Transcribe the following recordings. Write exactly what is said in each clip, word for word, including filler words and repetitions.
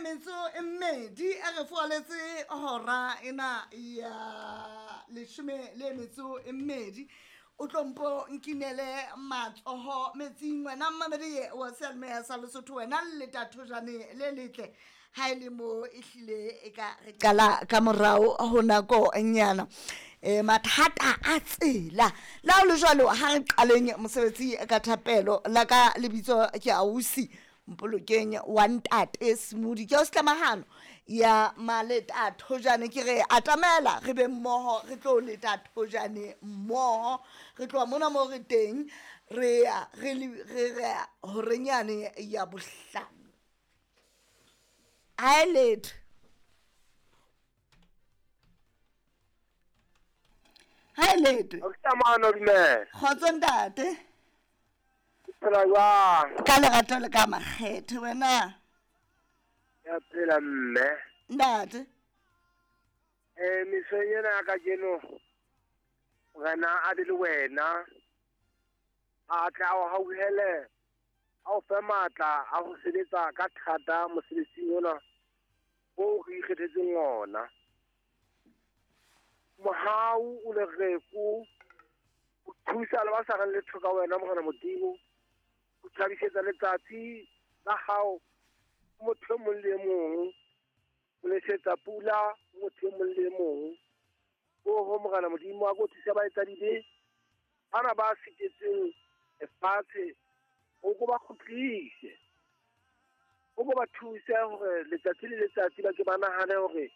metso e mmedi a re foaletse hora ena ya leshome le metso e mmedi. O tlo mpo nkinele matsoho metsing wena mmamedi wa seyalemoya sa Lesotho, wena le letathojane le letle ha e le mo e hlile e ka re qala ka morao ho nako nyana. E mathata a tsela la ho le jwalo, ha re qaleng mosebetsi ka thapelo. La ka lebitso ke ausi Mpolokeng wa ntate Smudi, ke o setlamahano ya maleta thojane. Ke re atamela re be mmoho, re tlo leta thojane mmoho, re tloha mona mo re teng re ya re re re horenyane ya bohlano. Ha e letho, ha e letho. Kgotso ntate. Phela jwang? Ka lerato le ka makgethe wena. Ya phela mme. Ntate. Eh mesong ena ya kajeno Morena a be le wena, a tla o hauhele, a o fe matla a ho sebetsa ka thata mosebetsing ona o re ikgethetseng ona. Mohau o lereko o thusa le ba sa reng letho ka wena Morena Modimo, o thabisetsa letsatsi la hao motho e mong le e mong, o nesetsa pula motho e mong le e mong. Oho Morena Modimo, a ko thusa baetsadibe bana ba sitetseng lefatshe, o ko ba kgutlise, o ko ba thuse hore letsatsi le letsatsi ba ke ba nahane hore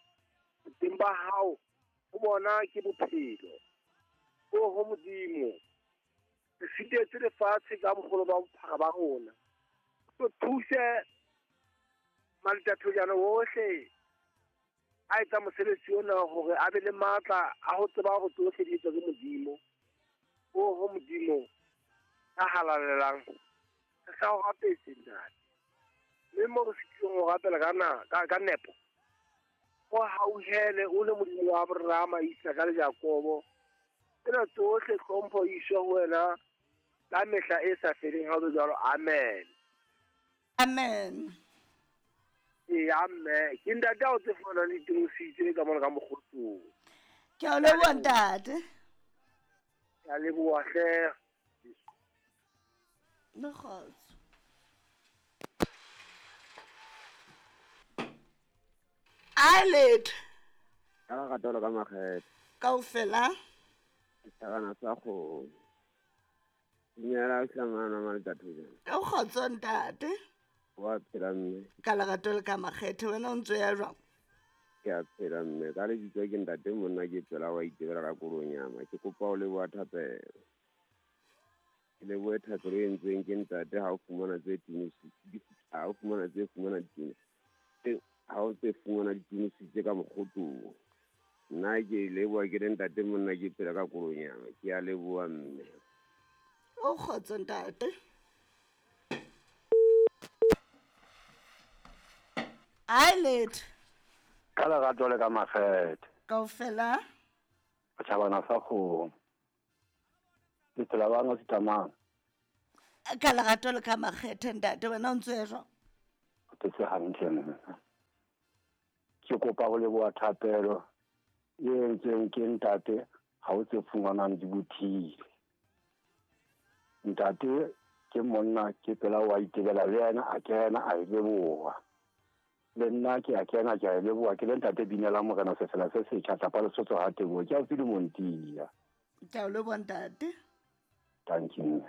teng ba hao ho bona ke bophelo. Oho Modimo, re sitetse lefatshe ka boholo ba bophara ba rona, o thuse maletathojana ohle a etsa mosebetsi ona hore a be le matla a ho tseba hore tsohle di etswa ke Modimo. Oho Modimo a halalelang, re sa o rapetse ntate, mme mo re sitileng ho rapela ka na ka, ka nepo, o hauhele o le Modimo wa Abrahama, Isaka le Jakobo. Tsena tsohle hlompho e iswe ho wena ka mehla e sa feleng. Ha o be jwalo, amen. Amen. Ee, amen. Ke ntate a o tse fumanang le itemositse ka mona ka mokgotsong. Ke a o leboha ntate. Ke a leboha hle. Le kgotso. A letho. Ka lerato le ka makgethe. Kaofela. Setjhabana sa kgomo. Dumela Tlamana Maletathojane. Ka kgotso ntate. Wa phela mme. Ka lerato le ka makgethe wena o ntso ya jwang? Ke a phela mme. Ka lebitso ke ntate monna ke tswela wa itebela ka Kolonyama. Ke kopa o leboha thapelo. Ke lebohe thapelo e entsweng ke ntate ha o fumana tse timisitse, ha o fumana tse fumana ditumiso, ha o tse fumana ditumisitse ka mokgotong. Nna ke leboha ke le ntate monna ke phela ka Kolonyama. Ke a leboha mme. O kgotso ntate. A letho. Ka lerato le ka makgethe. Kaofela. Setjhabana sa kgomo. Le phela bana setlamang. Ka lerato le ka makgethe ntate, wena o ntso ya jwang? O phetse hantle mme. Ke kopa ho leboha thapelo e entsweng ke ntate ha o tse fumanang di bothile. Ntate ke monna ke pela wa itebela le yena a kena a e leboha. Le nna ke a kena ke a e leboha. Ke le ntate binela Morena sefela se setjha tlapa Lesotho ha teboho. Ke a o tsile Montia. Ke a o leboha ntate. Thank you.